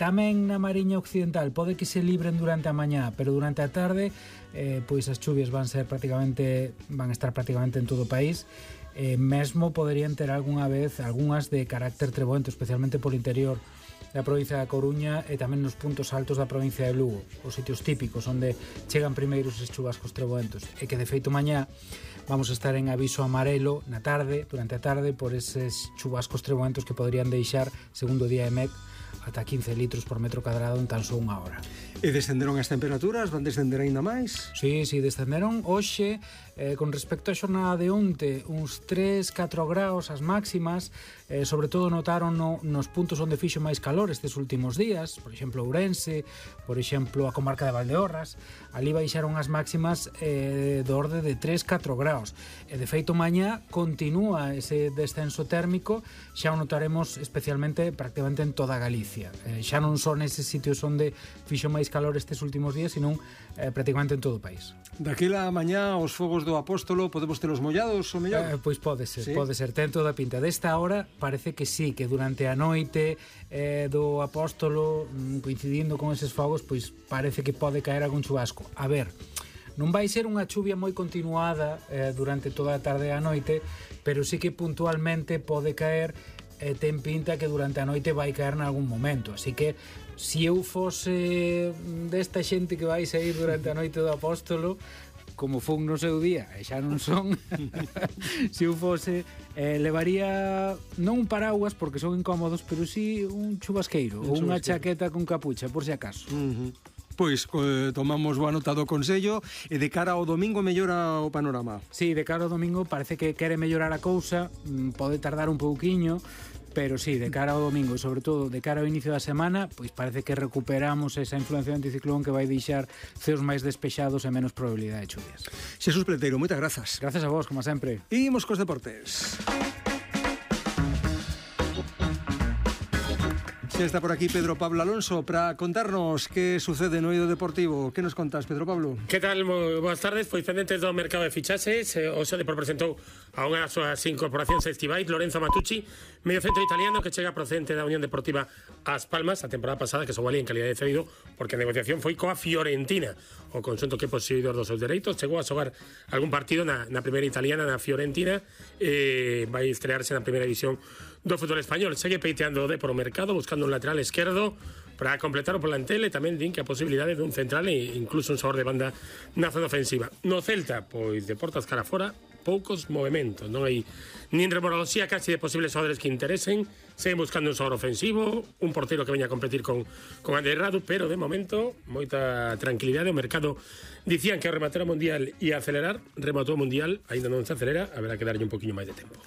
Tamén na Mariña Occidental pode que se libren durante a mañá, pero durante a tarde pois as chuvias van estar prácticamente en todo o país. Mesmo poderían ter algunhas de carácter treboento, especialmente polo interior da provincia da Coruña e tamén nos puntos altos da provincia de Lugo, os sitios típicos onde chegan primeiro os chubascos treboentos, e que de feito mañá vamos a estar en aviso amarelo na tarde, durante a tarde, por eses chubascos treboentos que poderían deixar, segundo o DIEMET, ata 15 litros por metro cadrado en tan só unha hora. E descenderon as temperaturas? Van descender aínda máis? Sí, descenderon hoxe, con respecto á xornada de onte, uns 3-4 graus as máximas, sobre todo notaron nos puntos onde fixo máis calor estes últimos días, por exemplo Ourense, por exemplo a comarca de Valdeorras, ali baixaron as máximas do orde de 3-4 graus, e de feito mañá continúa ese descenso térmico, xa o notaremos especialmente prácticamente en toda Galicia, xa non son eses sitios onde fixo máis calor estes últimos días, senón prácticamente en todo o país. Daquela mañá os fogos do Apóstolo podemos telos mollados o mellor? Pois pode ser, ¿Sí? Pode ser, ten toda a pinta. Desta hora parece que sí, que durante a noite do Apóstolo, coincidindo con eses fogos, pois parece que pode caer algún chubasco. A ver, non vai ser unha chuvia moi continuada durante toda a tarde e a noite, pero sí que puntualmente pode caer, ten pinta que durante a noite vai caer en algún momento, así que se eu fose desta xente que vai sair durante a noite do Apóstolo, como fun no seu día, e xa non son, se eu fose, levaría non un paraguas porque son incómodos, pero sí un chubasqueiro ou unha chaqueta con capucha, por si acaso. Pois tomamos boa nota do consello, e de cara ao domingo mellora o panorama. Sí, de cara ao domingo parece que quere mellorar a cousa, pode tardar un pouquiño, pero sí, de cara ao domingo e sobre todo de cara ao inicio da semana, pois parece que recuperamos esa influencia do anticiclón que vai deixar ceos máis despexados e menos probabilidade de chuvias. Xesús Peleteiro, moitas grazas. Gracias a vos, como sempre. Imos cos deportes. Xa está por aquí Pedro Pablo Alonso para contarnos que sucede no eido deportivo. Que nos contas, Pedro Pablo? Que tal? Boas tardes. Pois pendentes do mercado de fichaxes, o Depor presentou a unha das súas incorporacións estivais, Lorenzo Matucci, medio centro italiano que chega procedente da Unión Deportiva As Palmas a temporada pasada, que só valía en calidade de cedido porque a negociación foi coa Fiorentina. O conxunto que é poseedor dos seus dereitos chegou a xogar algún partido na primeira italiana, na Fiorentina, e vai estrearse na primeira división do fútbol español. Segue peiteando o Depor o mercado, buscando un lateral esquerdo para completar o plantel, e tamén din que a posibilidade dun central e incluso un sabor de banda na zona ofensiva. No Celta, pois de portas cara fora, poucos movimentos, non hai nin remoroloxía casi de posibles xogadores que interesen, seguen buscando un xogador ofensivo, un portero que veña a competir con Ander Radu, pero de momento moita tranquilidade. O mercado dicían que ao rematar o Mundial ia acelerar, rematou o Mundial, ainda non se acelera, haberá que darlle un poquinho máis de tempo.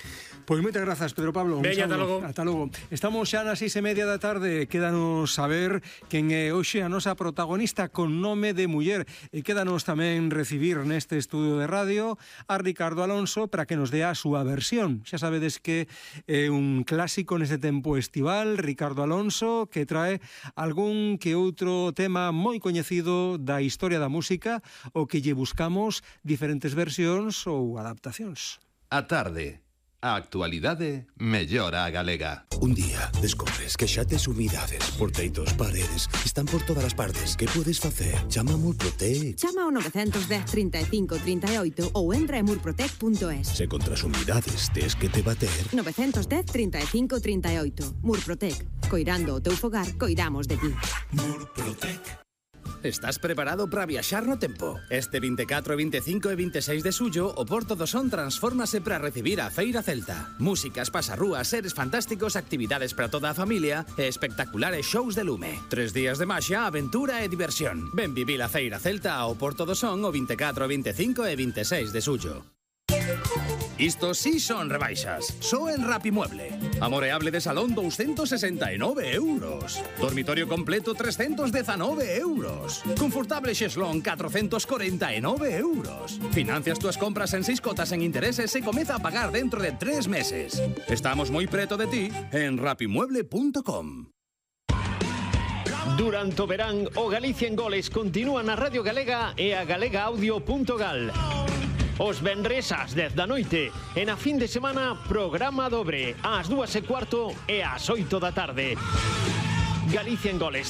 Pois moitas grazas, Pedro Pablo. Veña, ata logo. Ata logo. Estamos xa nas 6:30 da tarde. Quédanos saber quen é hoxe a nosa protagonista con nome de muller, e quédanos tamén recibir neste estudio de radio a Ricardo Alonso para que nos dea a súa versión. Xa sabedes que é un clásico neste tempo estival, Ricardo Alonso, que trae algún que outro tema moi coñecido da historia da música, o que lle buscamos diferentes versións ou adaptacións. A tarde. A actualidade mellora a galega. Un día descobres que xa tes humidades por teitos, paredes, están por todas as partes. Que podes facer? Chama a Murprotec. Chama ao 910 35 38 ou entra en murprotec.es. Se contra as humidades tes que te bater. 910 35 38. Murprotec. Coirando o teu fogar, coidamos de ti. Murprotec. Estás preparado para viaxar no tempo? Este 24, 25 e 26 de xullo, o Porto do Son transfórmase para recibir a Feira Celta. Músicas, pasarrúas, seres fantásticos, actividades para toda a familia e espectaculares shows de lume. 3 días de maxia, aventura e diversión. Ven vivir a Feira Celta ao Porto do Son o 24, 25 e 26 de xullo. Isto sí son rebaixas. Só en Rapimueble. Amoreable de salón 269 euros. Dormitorio completo 319 euros. Confortable xeslón 449 euros. Financias túas compras en 6 cotas en intereses e comeza a pagar dentro de 3 meses. Estamos moi preto de ti en rapimueble.com. Durante o verán, o Galicia en Goles continúa na Radio Galega e a galegaaudio.gal. Os venres ás 10 da noite e na fin de semana programa dobre ás 2:15 e ás 8 da tarde. Galicia en Goles